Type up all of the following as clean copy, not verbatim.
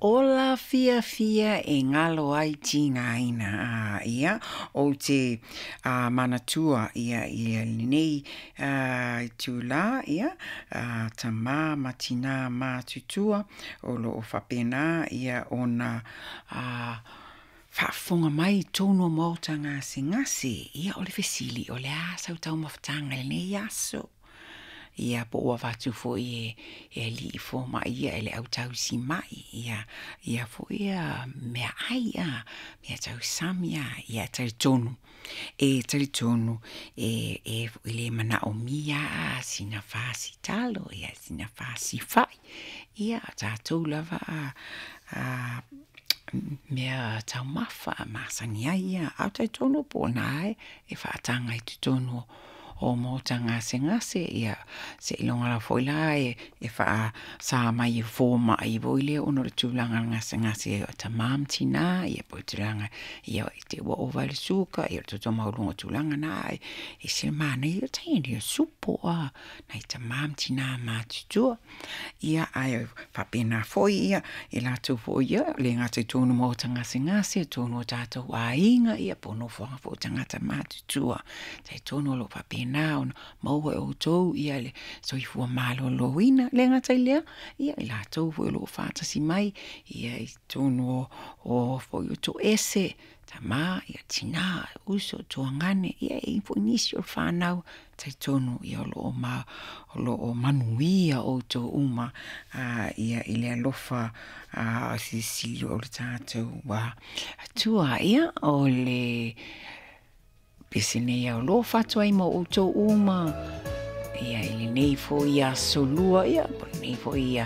Ola fiafia e galo ai tigaina. A ia, ou te manatua ia i lenei itulā, ia, tamā ma tinā matutua o lo o faapena ia ona faafofoga mai i totonu o maota gasegase. Ia, o le fesili, o le a sau taumafataga i lenei aso? Ia, po ua avatu foi e e alii fomai, ia, e le au tausimai, ia, ia foi ia meaai, mea tausami, ia, e talitonu, e talitonu e e foi le manaomia sina fasi talo, ia sina fasi fa'i. Ia, o tatou lava mea taumafa masani ai, ia, ae talitonu po o lena e faataga i totonu o maota gasegase, ia seiloga lava foi la e faasa mai e fomai foi lea ona o le tulaga o le gasegase o tama ma tina, ia po o le tulaga ia i te i ua ova le suka, ia o le toto maualuga, o tulaga na, ae ese le manaia o le teine o supo nai tama ma tina matutua. Ia, ae faapena foi ia i latou foi ia, e le gata i totonu o maota gasegase, o totonu o tatou aiga, ia po o nofoaga foi o tagata matutua. E talitonu o lo o faapena ona maua e outou le soifua maloloina. E le gata i lea, ia o i latou foi o lo o faatasi mai ia i totonu o foi o toese, tama, tina, uso, tuagane, ia e i ai foi nisi o fanau, e talitonu o lo o manuia outou uma ia i le alofa silisili o le tatou Atua. Ia, o le pese nei e alofa atu ai ma outou uma, ia i lenei foi aso lua, ia, po o lenei foi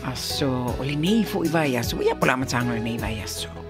aso, o lenei foi vaiaso, ia po o le amataga o lenei vaiaso.